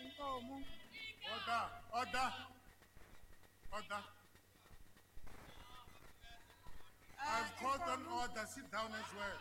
Inkomu. Order, order, order. I've called on Inkomu. order. Sit down as well.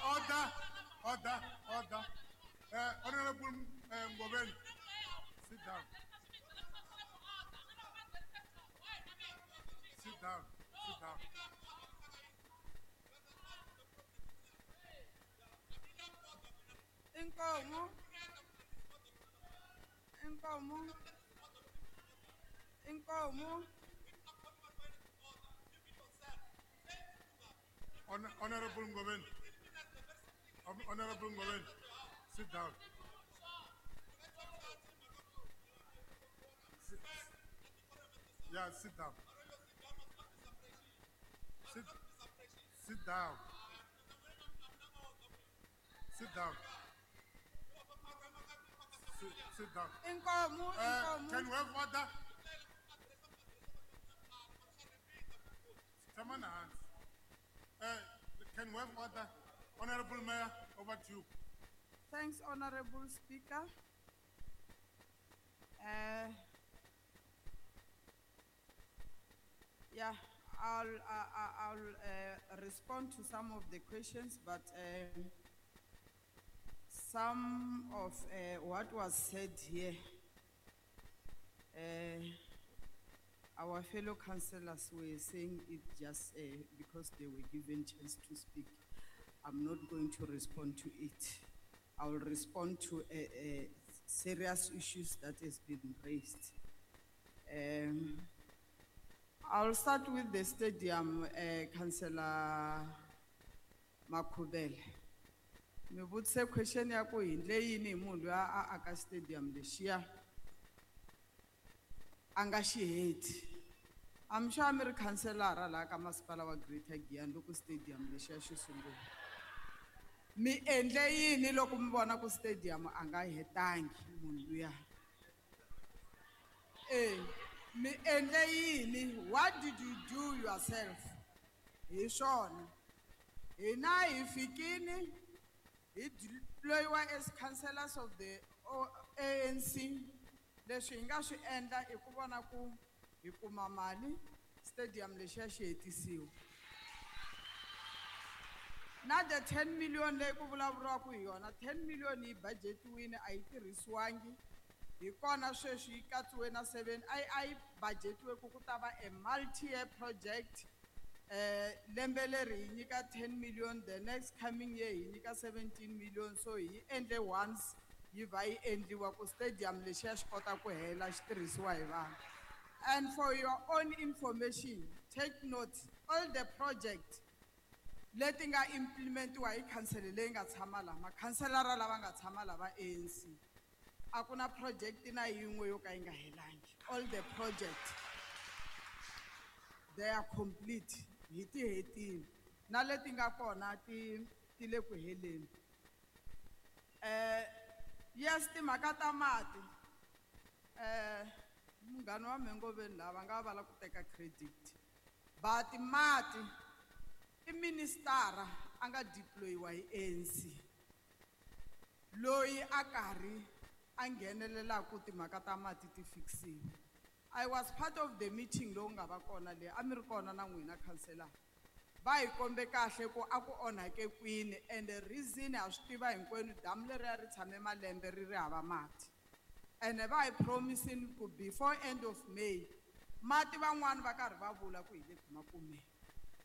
Order, order, order. Honorable Ngobeni, sit down. Sit down, sit down. Inkomu. Inkomu. Inkomu. Honorable Ngobeni. Honorable Ngobeni, sit down. Sit, yeah, sit down. Sit, sit down. Sit down. Sit, sit down. Inkomu, inkomu. Can we have order? Come on, hands. Can we have order? Honorable Mayor, over to you. Thanks, Honorable Speaker. Yeah, I'll respond to some of the questions, but some of what was said here, our fellow councillors were saying it just because they were given chance to speak. I'm not going to respond to it. I will respond to serious issues that has been raised. I'll start with the stadium, Councillor Makhubele. Mi vutise question ya ku hi ndle yini hi munhu loyi a aka stadium lexiya a nga xi heti. I'm sure mi ri councillor laha ka masipala wa Greater Giyani loko stadium lexiya xi sungula. Mi endle yini loko mi vona ku stadium a nga hetangi munhu luya? Mi endle yini? What did you do yourself? Hi swona. Hina hi fikini hi deployiwa as councillors of the ANC. Leswi hi nga swi endla i ku vona ku hi kuma mali, stadium lexiya xi hetisiwa. Na the 10 million leyi ku vulavuriwaka hi yona, 10 million yi budgetiwile a yi tirhisiwangi. Hi kona sweswi yi katsiwe na 7, a yi budgetiwe ku ku ta va a multi-year project. Lembe leri hi nyika 10 million, the next coming year hi nyika 17 million. So hi endle once yi va yi endliwa ku stadium lexiya xi kota ku hela xi tirhisiwa hi vanhu. And for your own information, take note, all the project leti nga implementiwa hi council leyi nga tshama laha, makhanselara lava nga tshama lava ANC, a ku na project na yin'we yo ka yi nga helangi. All the project, they are complete. Hi ti hetile. Na leti nga kona ti le ku heleni. Yes, timhaka ta mati. Munghana wa Mhengoveni lava nga va la ku teka credit. But mati i minister a nga deployiwa hi ANC. Loyi a karhi a nghenelelaka timhaka ta mati ti fixiwa. I was part of the meeting lowu nga va kona le, a mi ri kona na n'wina councillor. Va hi kombe kahle ku a ku onhake kwini and the reason ha swi tiva hinkwenu damu leriya ri tshame malembe ri ri hava mati. And va hi promising ku before end of May mati van'wani va karhi va vula ku hi le ku ma kumeni.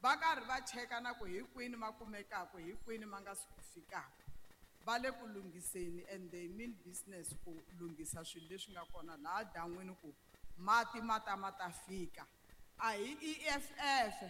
Va karhi va cheka na ku hi kwini ma kumekaka, hi kwini ma nga si ku fikaka. Va le ku lunghiseni and they mean business ku lunghisa swilo leswi nga kona laha dan'wini ku mati ma ta ma ta fika. A hi EFF,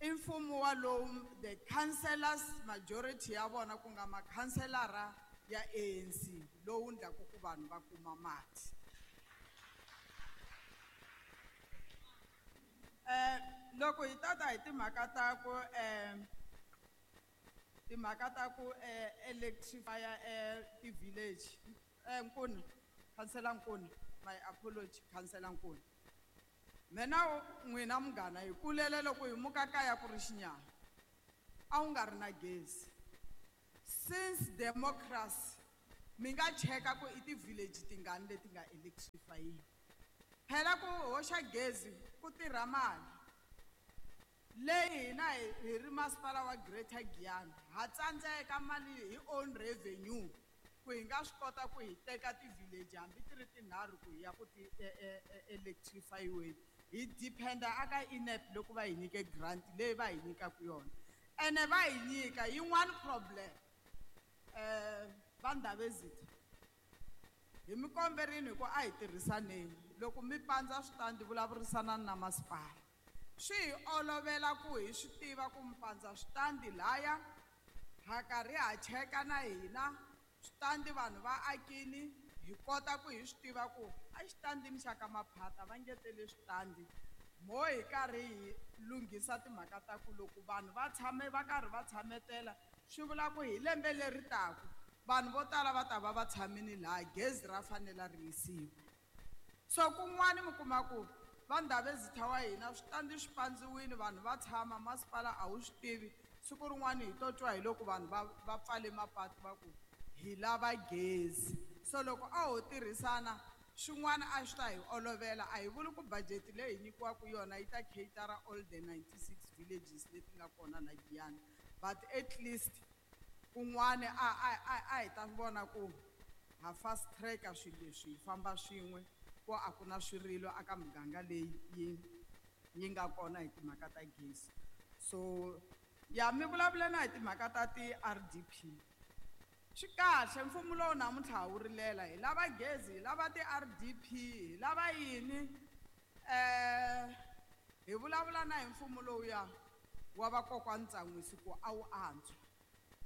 i mfumo wa lowu the councillors majority ya vona ku nga makhanselara ya ANC lowu endlaku ku vanhu va kuma mati. Loko hi tata hi timhaka ta ku timhaka ta ku electrify ti-village, Nkuna, Councillor Nkuna, my apology, Councillor Nkuna. Mina n'wina munghana hi kulele loko hi muka kaya ku ri xinyama, a wu nga ri na gezi. Since democracy, mi nga cheka ku i ti-village tingani leti nga electrify-iwa. Phela ku hoxa gezi ku tirha mali leyi hina hi ri masipala wa Greater Giyani ha tsandzeka mali hi own revenue ku hi nga swi kota ku hi teka ti-village hambi ti ri tinharhu ku hi ya ku ti electrify-iweni. Hi depend-a aka INEP loko va hi nyike grant leyi va hi nyikaka yona, ene va hi nyika yin'wani problem. Va Ndhavezitha, hi mi komberini hi ku a hi tirhisaneni. Loko mi pandza switandi vulavurisana na masipala, swi hi olovela ku hi swi tiva ku mi pandza switandi laya, ha karhi ha cheka na hina switandi vanhu va akini, hi kota ku hi swi tiva ku a xitandini xa ka Maphata va ngetele switandi. Mo hi karhi hi lunghisa timhaka ta ku loko vanhu va tshame va karhi va tshametela, swi vula ku hi lembe leri taka vanhu vo tala va ta va va tshamini laha gezi ra fanela ri yisiwa. So kun'wani mi kuma ku va Ndhavezitha wa hina switandi swi pandziwile, vanhu va tshama, masipala a wu swi tivi. Siku rin'wani hi to twa hi loko vanhu va pfale mapatu va ku hi lava gezi. So loko a ho tirhisana swin'wana a swi ta hi olovela. A hi vuli ku budget leyi hi nyikiwaka yona yi ta cater all the 96 villages leti nga kona la Giyani, but at least kun'wani a hi ta vona ku ha fast track-a swilo leswi, hi famba swin'we ku a ku na swirilo aka muganga leyi yi nga kona hi timhaka ta gezi. So ya mi vulavula na hi timhaka ta ti-RDP, swi kahle mfumo lowu namuntlha wu rilela, hi lava gezi, hi lava ti-RDP, hi lava yini. Hi vulavula na hi mfumo lowuya wa vakokwani Ntsan'wisi ku a wu antswa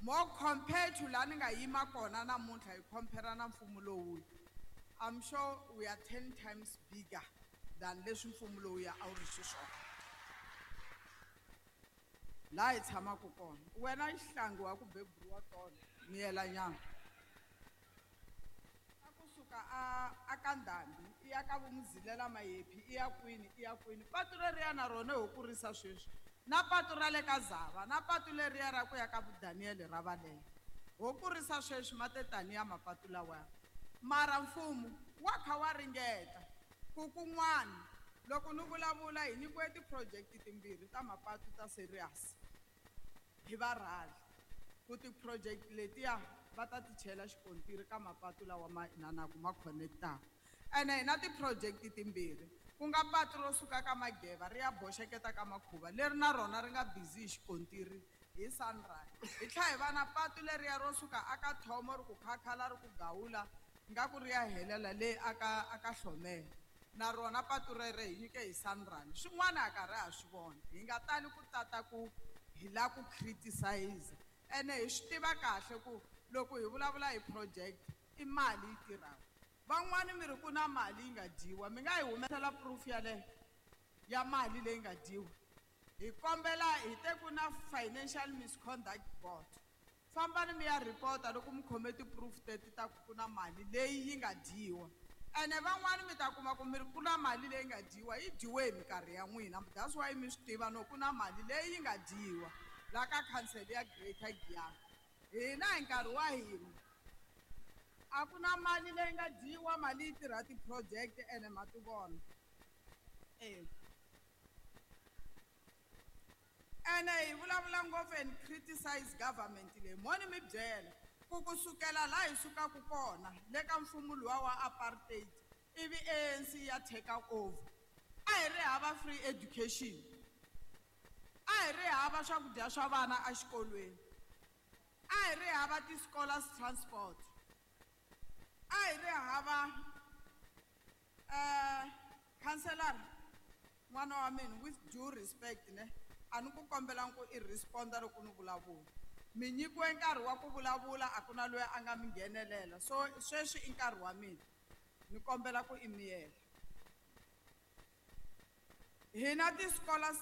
more compared to laha ni nga yima kona namuntlha. Hi compare na mfumo lowuya, I'm sure we are 10 times bigger than leswi mfumo lowuya a wu ri xiswona laha hi tshamaka kona. Wena xihlangi wa ku beburiwa tolo, miyela nyana a kusuka a ka Ndhambi i ya ka Vumuzilela Mayephi, i ya kwini, i ya kwini, patu leriya na rona ho kurisa sweswi, na patu ra le ka Zava, na patu leriya ra ku ya ka Daniel ra Valela, ho kurisa sweswi matetani ya mapatu lawaya. Mara mfumo wa kha wa ringeta ku kun'wana. Loko ni vulavula, hi nyikiwe ti-project timbirhi ta mapatu ta serious hi va rhali ku ti-project letiya va ta ti chela xikontiri ka mapatu lawa ma inanaku ma connect-aka. Ene hi na ti-project timbirhi, ku nga patu ro suka ka Mageva ri ya boxeketa ka Makhuva, leri na rona ri nga busy hi xikontiri hi Sunrise. Hi tlhela hi va na patu leriya ro suka aka Thomo ri ku khakhala ri ku gawula nga ku ri ya helela le aka Hlomela, na rona patu rere hi nyike hi Sunrise. Swin'wana a karhi ha swi vona, hi nga tali ku tata ku hi lava ku criticize. Ene hi swi tiva kahle ku loko hi vulavula hi project i mali yi tirhaka. Van'wani mi ri ku na mali yi nga dyiwa, mi nga hi humesela proof yaleyo ya mali leyi nga dyiwa? Hi kombela hi te ku na financial misconduct board, fambani mi ya report-a loko mi khome ti-proof teti ta ku ku na mali leyi yi nga dyiwa. Ene van'wani mi ta kuma ku mi ri ku na mali leyi nga dyiwa, yi dyiwe hi minkarhi ya n'wina, that's why mi swi tiva no ku na mali leyi yi nga dyiwa la ka council ya Greater Giyani. Hina hi nkarhi wa hina a ku na mali leyi nga dyiwa, mali yi tirha ti-project ene ma ti vona. Ene hi vulavula ngopfu and criticize government leyi, mo ni mi byela ku kusukela laha hi sukaka kona le ka mfumo luwa wa apartheid ivi ANC ya take over, a hi ri hava free education, a hi ri hava swakudya swa vana exikolweni, a hi ri hava ti-scholars transport, a hi ri hava. Councillor n'wana wa mina, with due respect ne, a ni ku kombela ku i responda loko ni vulavula. Mi nyikiwe nkarhi wa ku vulavula, a ku na loyi a nga mi nghenelela, so sweswi i nkarhi wa mina, ni kombela ku i miyela. Hina ti-scholars